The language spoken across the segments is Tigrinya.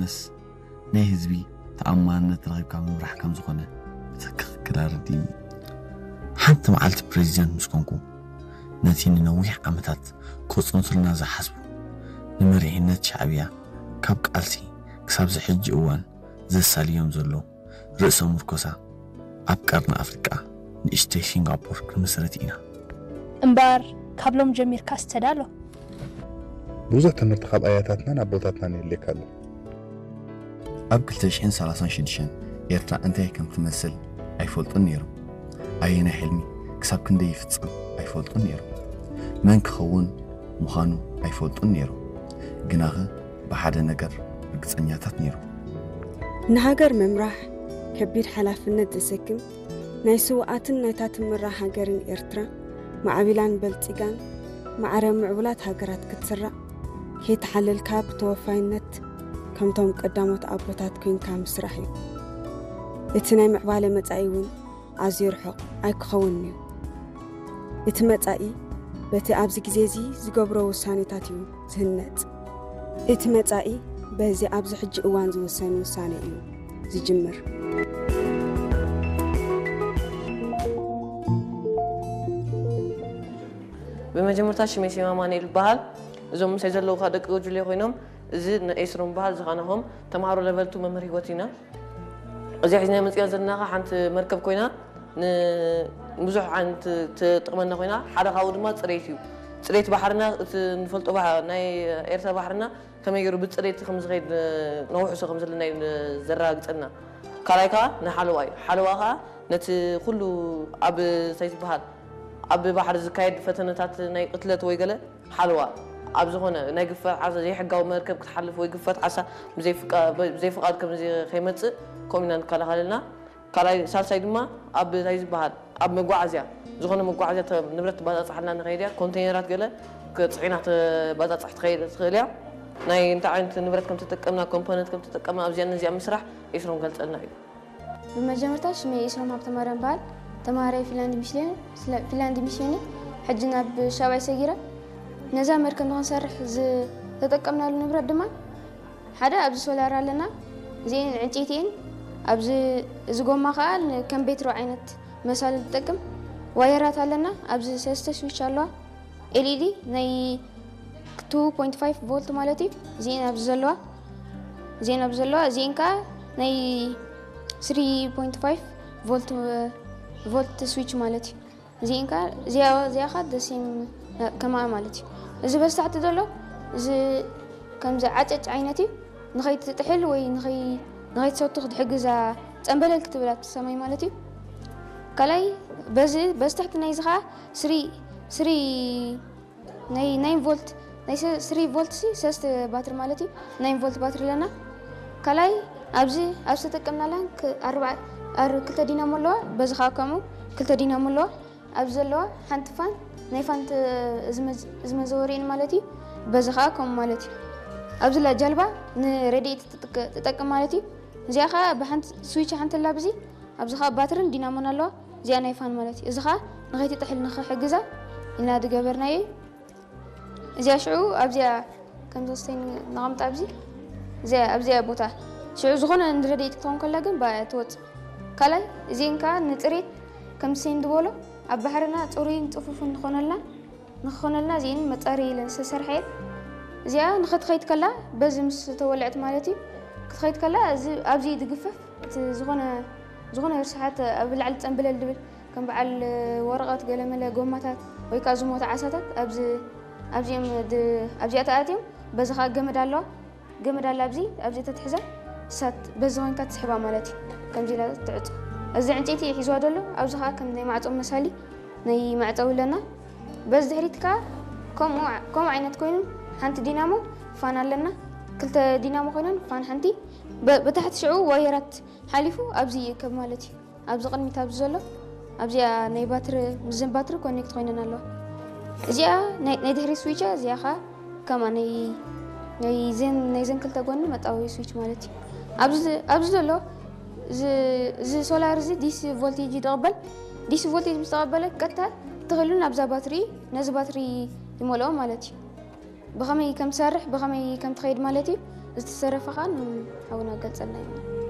ምስ ናይ ህዝቢ ተኣማንነት ረኺብካ ምምራሕ ከም ዝኾነ ብትኽክል ኣረዲእኒ። ሓንቲ መዓልቲ ፕሬዚደንት ምስ ኮንኩ፣ ነቲ ንነዊሕ ዓመታት ከጽንቱልና ዝሓስቡ ንመሪሕነት ሻዕብያ ካብ ቃልሲ ክሳብ ዝሕጂ እዋን ዘሳልዮም ዘሎ ርእሰ ምርኮሳ ኣብ ቀርኒ ኣፍሪቃ ንእሽተይ ሲንጋፖር ክንምስርት ኢና። እምበኣር ካብ ሎም ጀሚርካስ ተዳሎ። ብዙሕ ትምህርቲ ካብ ኣያታትናን ኣቦታትናን የድልየካ ኣሎ። ኣብ ክልተ ሽሕን ሰላሳን ሽዱሽተን ኤርትራ እንታይ ከም ትመስል ኣይፈልጡን ነይሮም። ኣየናይ ሕልሚ ክሳብ ክንደይ ይፍጸም ኣይፈልጡን ነይሮም። መን ክኸውን ምዃኑ ኣይፈልጡን ነይሮም። ግናኸ ብሓደ ነገር ርግጸኛታት ነይሮም። ንሃገር ምምራሕ ከቢድ ሓላፍነት ዘሰክም ናይ ስውኣትን ናይታ ትምራሕ ሃገርን ኤርትራ ማዕቢላን በልጺጋን ማዕረ ምዕቡላት ሃገራት ክትስራዕ ከይተሓለልካ ብተወፋይነት ከምቶም ቀዳሞት ኣቦታት ኮይንካ ምስራሕ እዩ። እቲ ናይ ምዕባለ መጻኢ እውን ኣዝዩ ርሑቕ ኣይክኸውንን እዩ። እቲ መጻኢ በቲ ኣብዚ ግዜ እዚ ዝገብሮ ውሳኔታት እዩ ዝህነጽ። እቲ መጻኢ በዚ ኣብዚ ሕጂ እዋን ዝውሰን ውሳኔ እዩ ዝጅምር። ብመጀመርታ ሽመይ ሲማ ማንኤል ይበሃል። እዞም ምሳይ ዘለዉ ከዓ ደቂ ጉጅለ ኮይኖም፣ እዚ ንኤስሮም በሃል ዝኻናኹም ተምሃሮ ለቨል ቱ መምህር ህይወት ኢና። እዚኣ ሒዝና መፂና ዘለና ከዓ ሓንቲ መርከብ ኮይና ንብዙሕ ዓይነት ትጥቕመና ኮይና፣ ሓደ ካብኡ ድማ ፅሬት እዩ። ፅሬት ባሕርና፣ እቲ ንፈልጦ ባህ- ናይ ኤርትራ ባሕርና ከመይ ገይሩ ብፅሬት ከም ዝኸይድ፣ ነውሕሶ ከም ዘለና እዩ ዘረጋግፀልና። ካልኣይ ከዓ ንሓለዋ እዩ። ሓለዋ ከዓ ነቲ ኩሉ ኣብ እንታይ ዝበሃል ኣብ ባሕሪ ዝካየድ ፈተነታት ናይ ቅትለት ወይ ገለ ሓለዋ ኣብ ዝኾነ ናይ ግፋት ዓሳ ዘይሕጋዊ መርከብ ክትሓልፍ ወይ ግፋት ዓሳ ብዘይፍቃ- ብዘይፍቃድ ከም ከይመፅእ ከምኡ ኢና ንከላኸለልና። ካልኣይ ሳልሳይ ድማ ኣብ እንታይ ዝበሃል ኣብ መጓዓዝያ ዝኾነ መጓዓዝያ ተ- ንብረት ትባፃፃሓልና ንኸይድ እያ። ኮንቴይነራት ገለ ክፅዒና ተባፃፃሕ ትኸይድ ትኽእል እያ። ናይ እንታይ ዓይነት ንብረት ከም ተጠቀምና ኮምፖነንት ከም ተጠቀምና ኣብዚኣ ነዚኣ ምስራሕ ኤስሮም ገልፀልና እዩ። ብመጀመርታ ሽመይ ኤስሮም ሃብተማርያም በሃል። ተማሃራይ ፊንላንድ ሚሽን እየ። ስለ- ፊንላንድ ሚሽን እየ። ሕጂ ናብ ሻብዓይ ሰጊረ። ነዛ መርከብ ንክንሰርሕ ዝተጠቀምናሉ ንብረት ድማ ሓደ ኣብዚ ሶላር ኣለና፣ እዚኤን ዕንጨይቲ እየን። ኣብዚ እዚ ጎማ ከዓ ን- ከም ቤትሮ ዓይነት መሳሊ ዝጠቅም ዋየራት ኣለና። ኣብዚ ሰለስተ ስዊች ኣለዋ። ኤልኢዲ ናይ ቱ ፖይንት ፋይቭ ቮልት ማለት እዩ። እዚኤን ኣብዚ ዘለዋ እዚኤን ኣብዚ ዘለዋ እዚኤን ከዓ ናይ ስሪ ፖይንት ፋይቭ ቮልት ቮልት ስዊች ማለት እዩ። እዚኤን ከዓ እዚኣ እዚኣ ከዓ ደሴም ከማኣ ማለት እዩ። እዚ በስታሕቲ ዘሎ እዚ ከምዚ ዓጨጭ ዓይነት እዩ። ንኸይትጥሕል ወይ ንኸይ- ንኸይትሰቱ ክትሕግዛ ፀንበለል ክትብላ ሰማይ ማለት እዩ። ካልኣይ በዚ በስታሕቲ ናይዚ ከዓ ስሪ ስሪ ናይ ናይን ቮልት ናይ ሰ- ስሪ ቮልት ሲ ሰስተ ባትሪ ማለት እዩ። ናይን ቮልት ባትሪ ኣለና። ካልኣይ ኣብዚ ኣብ ዝተጠቀምናላን ክ- ኣርባ- ኣር- ክልተ ዲናሞ ኣለዋ። በዚ ከዓ ከምኡ ክልተ ዲናሞ ኣለዋ። ኣብዚ ዘለዋ ሓንቲ ፋን ናይ ፋን ተ- እዚ መዝ- እዚ መዘወሪእን ማለት እዩ። በዚ ከዓ ከምኡ ማለት እዩ። ኣብዚ ላ ጃልባ ንረድኤት ትጥቀ- ትጠቅም ማለት እዩ። እዚኣ ከዓ ብሓንቲ ስዊች ሓንቲ ኣላ ብዚ ኣብዚ ከዓ ባትርን ዲናሞን ኣለዋ። እዚኣ ናይ ፋን ማለት እዩ። እዚ ከዓ ንኸይትጥሕል ንኽሕግዛ ኢልና ዝገበርናዮ እዩ። እዚኣ ሽዑ ኣብዚኣ ከም ዘስተይ ነቐምጣ ኣብዚ እዚኣ ኣብዚኣ ቦታ ሽዑ ዝኾነ ንረድኤት ክትኸውን ከላ ግን ብኣ እያ ትወፅእ። ካልኣይ እዚአን ከዓ ንፅሬት ከም ሰይን ዝበሎ ኣብ ባሕርና ፅሩይን ፅፉፍን ንኾነልና ንክኾነልና እዚአን መፃሪ ኢለን ዝተሰርሐ እየን። እዚኣ ንኽትኸይድ ከላ በዚ ምስ ተወልዐት ማለት እዩ ክትኸይድ ከላ እዚ ኣብዚ ድግፈፍ እቲ ዝኾነ ዝኾነ ርስሓት ኣብ ላዕሊ ፀንበለል ድብል ከም በዓል ወረቐት ገለመለ ጎማታት ወይ ከዓ ዝሞተ ዓሳታት ኣብዚ ኣብዚኦም ድ- ኣብዚኣ ተኣትዮም በዚ ከዓ ገመድ ኣለዋ ገመድ ኣላ ኣብዚ ኣብዚ ተትሕዛ እሳት በዚ ኮይንካ ትስሕባ ማለት እዩ ከምዚ ኢላ ትዕፆ እዚ ዕንጨይቲ ሒዝዋ ዘሎ ኣብዚ ከዓ ከም ናይ ማዕፆ መሳሊ ናይ መዕፀዊ ኣለና በዚ ድሕሪት ከዓ ከምኡ ዓ- ከምኡ ዓይነት ኮይኑ ሓንቲ ዲናሞ ፋን ኣለና ክልተ ዲናሞ ኮይነን ፋን ሓንቲ በ- ብታሕቲ ሽዑ ዋየራት ሓሊፉ ኣብዚ ይእከብ ማለት እዩ ኣብዚ ቅድሚት ኣብዚ ዘሎ ኣብዚኣ ናይ ባትሪ ምስዘን ባትሪ ኮኔክት ኮይነን ኣለዋ እዚኣ ናይ ናይ ድሕሪ ስዊቻ እዚኣ ከዓ ከማ ናይ ናይ ዘን ናይ ዘን ክልተ ጎኒ መጣወቢ ስዊች ማለት እዩ ኣብዚ ኣብዚ ዘሎ እዚ እዚ ሶላር እዚ ዲሲ ቮልቴጅ ይቕበል ዲሲ ቮልቴጅ ምስ ተቐበለ ቀጥታ ትኽእሉ ናብዛ ባትሪ ነዚ ባትሪ ይመልኦ ማለት እዩ ብኸመይ ከም ትሰርሕ ብኸመይ ከም ትኸይድ ማለት እዩ ዝተሰረፈ ኸኣ ንሓውና ገልጸልና እዩ።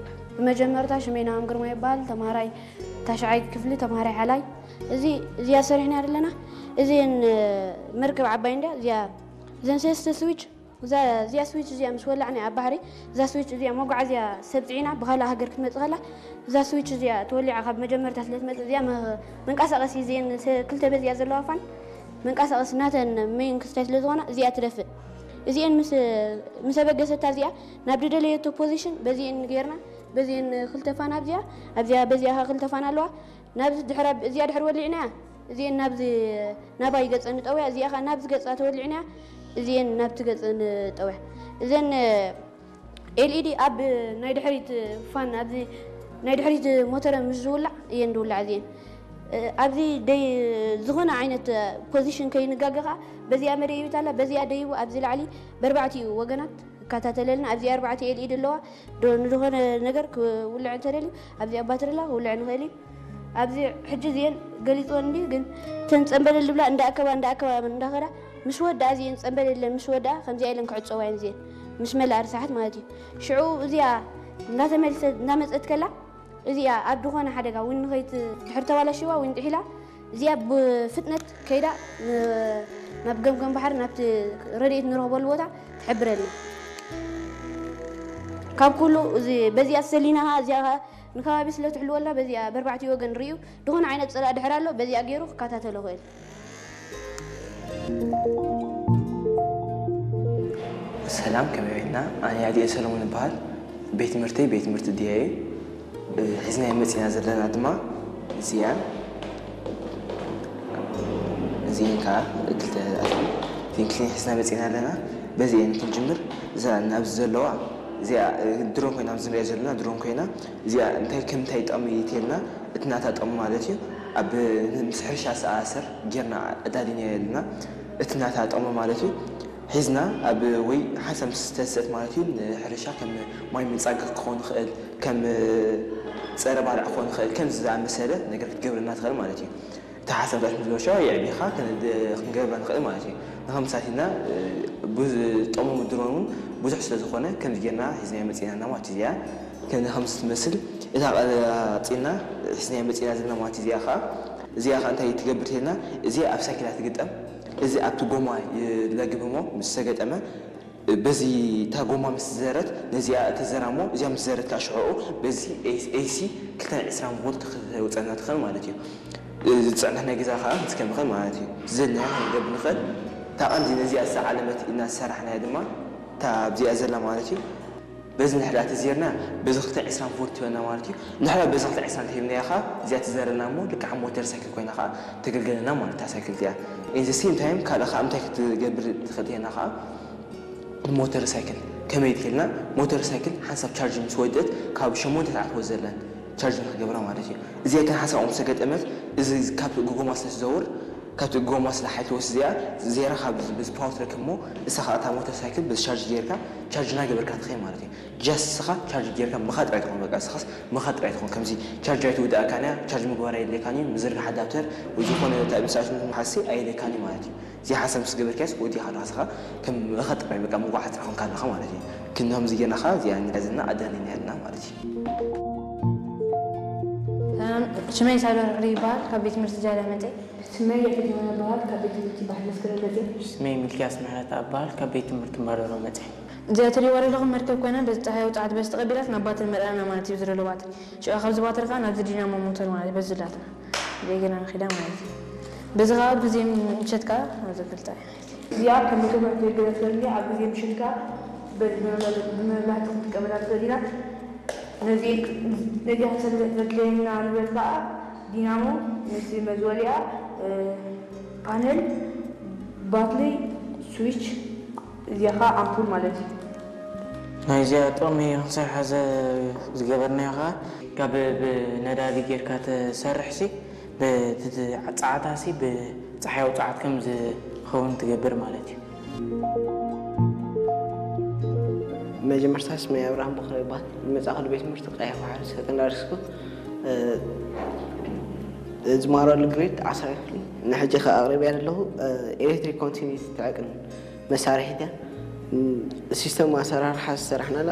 ብመጀመርታ ሽመይ ናሆም ግርማ ይበሃል። ተማሃራይ ታሽዓይ ክፍሊ፣ ተማሃራይ ሓላይ። እዚ፣ እዚኣ ሰሪሕና ዘለና። እዚን መርከብ ዓባይ እንድያ። እዚኣ፣ እዘን ሰለስተ ስዊች፣ እዛ፣ እዚኣ ስዊች እዚኣ ምስ ወላዕና ኣብ ባሕሪ፣ እዛ ስዊች እዚኣ መጓዓዝያ ሰብ ጽዒና ብኻልእ ሃገር ክትመጽእ ከላ፣ እዛ ስዊች እዚኣ ተወሊዓ ካብ መጀመርታ ስለ ትመጽእ፣ እዚኣ መ-፣ መንቀሳቐሲ እዚአን ሰ-፣ ክልተ በዚኣ ዘለዋ ፋን መንቀሳቐሲ ናተን ሜን ክስታይ ስለ ዝኾና፣ እዚኣ ትደፍእ። እዚአን ምስ፣ ምስ ኣበገሰታ እዚኣ ናብ ዝደለየቶ ፖዚሽን በዚአን ጌርና፣ በዚአን ክልተ ፋን ኣብዚኣ፣ ኣብዚኣ በዚኣ ኸዓ ክልተ ፋን ኣለዋ። ናብዚ ድሕሪ ኣብ-፣ እዚኣ ድሕሪ ወሊዕናያ፣ እዚአን ናብዚ ናባይ ገጸን ንጠውያ፣ እዚኣ ኸዓ ናብዚ ገጻ ተወሊዕናያ፣ እዚአን ናብቲ ገጸን ንጠውያ። እዘን ኤልኢዲ ኣብ ናይ ድሕሪት ፋን፣ ኣብዚ ናይ ድሕሪት ሞተረ ምስ ዝውላዕ እየን ዝውላዕ እዚአን። እ፣ ኣብዚ ደይ-፣ ዝኾነ ዓይነት ፖዚሽን ከይንጋገ ኸዓ በዚኣ መደይቢት ኣላ፣ በዚኣ ደይቡ ኣብዚ ላዕሊ በርባዕቲኡ ወገናት ይከታተለልና። ኣብዚ ኣርባዕተ ኤልኢዲ ኣለዋ። ዶ-፣ ንዝኾነ ነገር ክውልዕ እንተደልዩ ኣብዚኣ ባትሪ ኣላ፣ ክውልዕ ንኽእል እዩ። ኣብዚ ሕጂ እዚአን ገሊጽወን እንድዩ፣ ግን እተን ጸንበለል ዝብላ እንዳኣከባ፣ እንዳኣከባ፣ እንዳኸዳ ምስ ወድኣ እዚአን ጸንበለለን ምስ ወድኣ ከምዚኣ ኢለን ክዕጸዋ እየን እዚአን፣ ምስ መልኣ ርሳሓት ማለት እዩ። ሽዑ እዚኣ እንዳተመልሰት፣ እንዳመጸት ከላ እዚኣ ኣብ ዝኾነ ሓደጋ ዊን ንኸይት-፣ ድሕር ተባላሽዋ ዊን ጥሒላ እዚኣ ብፍጥነት ከይዳ ን-፣ ናብ ገምገም ባሕሪ ናብቲ ረድኤት ንረኽበሉ ቦታ ትሕብረልና። ካብ ኩሉ እዚ በዚኣ ሰሊና እዚኣ ንከባቢ ስለ ትሕልወልና በዚኣ በርባዕቲ ወገን ርእዩ ዝኾነ ዓይነት ጽላእ ድሕር ኣሎ በዚኣ ገይሩ ክከታተሎ ይኽእል። ሰላም፣ ከመይ ውዒልና? ኣነ ያዲኤ ሰለሙን እበሃል። ቤት ትምህርተይ ቤት ትምህርቲ ድያ እዩ። እ፣ ሒዝናዮ መጺና ዘለና ድማ እዚኣን እዚአን ከዓ ክልተ እዚአን ክልቲኤን ሒዝና መጺና ኣለና። በዚአን ክንጅምር። እዛ ናብዚ ዘለዋ እዚኣ፣ እ፣ ድሮን ኮይና ኣብዚ ንሪኣ ዘለና ድሮን ኮይና እዚኣ እንታይ ከም እንታይ ጥቕሚ ተልና እቲ ናታ ጥቕሚ ማለት እዩ። ኣብ ምስ ሕርሻ ዝተኣሳሰር ጌርና ኣዳሊናዮ ኣለና። እቲ ናታ ጥቕሚ ማለት እዩ። ሒዝና ኣብ ወይ ሓንሳብ ምስ ተሰት ማለት እዩ ንሕርሻ ከም ማይ ምንጻግ ክኸውን ይኽእል፣ ከም ጸረ ባልዕ ክኸውን ይኽእል፣ ከምዚ ዝኣመሰለ ነገር ክትገብረልና ትኽእል ማለት እዩ። እቲ ሓሳብ ዳሽ ምስ ዝበሻ የዕቢኻ ክንገብራ ንኽእል ማለት እዩ። ንኸምሳት ኢልና ብዙ ጥቕሙ ድሮን እውን ብዙሕ ስለ ዝኾነ ከምዚ ጌርና ሒዝናዮ መጺና ኣለና ማለት እዩ። እዚኣ ከም ከምዚ ትመስል እታ ቀጺልና ሒዝናዮ መጺና ዘለና ማለት እዩ። እዚኣ ኸዓ እዚኣ ኸዓ እንታይ ትገብር ተልና እዚኣ ኣብ ሳይክል እያ ትግጠም። እዚ ኣብቲ ጎማ ይለግብ እሞ ምስ ተገጠመ በዚ እታ ጎማ ምስ ዘረት ነዚኣ ተዘራ እሞ እዚኣ ምስ ዘረት ከዓ ሽዕኡ በዚ ኤሲ ክልተ ዕስራን ቮልት ክተውፀና ትኽእል ማለት እዩ። ዝፅዕነት ናይ ገዛ ከዓ ክትከም ይኽእል ማለት እዩ። ዝደለናዮ ክንገብር ንኽእል። እታ ቀንዲ ነዚኣ ዝዓለመት ኢና ዝሰራሕናያ ድማ እታ ኣብዚኣ ዘላ ማለት እዩ። በዚ ንሕዳ ተዘርና በዚ ክልተ ዕስራን ቮልት ትበና ማለት እዩ። ንሕዳ በዚ ክልተ ዕስራን ተሂብናያ ከዓ እዚኣ ትዘረና እሞ ልክዓ ሞተር ሳይክል ኮይና ከዓ ተገልገለና ማለት እታ ሳይክል እዚኣ። In the same time ካልእ ከዓ እንታይ ክትገብር ትኽእል ተና ከዓ ሞተር ሳይክል ከመይ ትልና ሞተር ሳይክል ሓንሳብ ቻርጅ ምስ ወደት ካብ ሸሞንተ ሰዓት ወዘለን ቻርጅ ንክገብራ ማለት እዩ። እዚኣ ግን ሓንሳብ ምስ ተገጠመት እዚ ካብ ጎማ ስለ ትዘውር ካብቲ ጎማ ስለ ሓይል ትወስድ እዚኣ ዜራ ካብ በዚ ፓወር ትረክብ እሞ ንሳ ከዓ እታ ሞተር ሳይክል በዚ ቻርጅ ጌርካ ቻርጅ እናገበርካ ትኸይድ ማለት እዩ። ጃስት ንስኻ ቻርጅ ጌርካ ምኻድ ጥራይ ትኾን በቃ ንስኻስ ምኻድ ጥራይ ትኾን ከምዚ ቻርጅ ኣይትውድኣካን እያ ቻርጅ ምግባር ኣየድልየካን እዩ ምዝርጋሕ ኣዳፕተር ወይ ዝኾነ እንታይ ምሳሽ ሓሲ ኣየድልየካን እዩ ማለት እዩ። እዚ ሓሳብ ምስ ገበርካስ ወዲኻ ኣለኻ ንስኻ ከም ምኻድ ጥራይ በቃ ምጉዓዝ ጥራይ ኾንካ ኣለኻ ማለት እዩ። ክንዲ ከምዚ ጌርና ኸዓ እዚኣ ንዕዝና ኣዳሊና ኣለና ማለት እዩ። ሰላም፣ ሽመይ ሳዶር ዕሪ ይበሃል። ካብ ቤት ትምህርቲ ጃላ መፅእ። ሽመይ የዕልመ እበሃል። ካብ ቤት ትምህርቲ ባሕሪ መስከረም መፅእ። ሽመይ ሚልክያስ ምሕረተኣብ እበሃል። ካብ ቤት ትምህርቲ እምባዶሎ መፅእ። እዚኣ እትሪእዋ ዘለኹም መርከብ ኮይና በዚ ፀሃያዊ ፀዓት በዚ ተቐቢላት ናብ ባትሪ መልኣና ማለት እዩ። ዝደሎ ባትሪ ሽዑ ካብዚ ባትሪ ከዓ ናብዚ ዲናሞ ሞተር ማለት በዚ ላትና ዘይገና ንኺዳ ማለት እዩ። በዚ ከዓ ኣብ ግዜ ምሸት ከዓ ናብዚ ክልተ እዚኣ ከም መጀመርያ ተገለጸልኒ ኣብ ግዜ ምሸት ከዓ በዚ ብመብራህቲ ክንጥቀመላ ንኽእል ኢና። ነዚ ነዚኣ ተድልየና ንብረት ከዓ ዲናሞ፣ ምስ መዝወሊኣ፣ ፓነል፣ ባትሪ፣ ስዊች፣ እዚኣ ከዓ ኣምፑል ማለት እዩ። ናይዚኣ ጥቕሚ ክንሰርሓ ዝገበርናዮ ከዓ ካብ ብነዳዲ ጌርካ ትሰርሕሲ ብቲ ጸዓታሲ ብፀሓያዊ ፀዓት ከም ዝኸውን ትገብር ማለት እዩ። መጀመርታ ስመይ ኣብርሃም በኽረ ይበሃል። ዝመጻእኩሉ ቤት ትምህርቲ ቀይሕ ባሕሪ ሰከንዳሪ ስኩል። ዝማረሉ ግሬድ ዓስራ ክፍሊ ንሕጂ ከኣ ኣቕሪብያ ዘለኹ ኤሌክትሪክ ኮንቲኒቲ ትዕቅን መሳርሒት እያ። ሲስተም ኣሰራርሓ ዝሰራሕናላ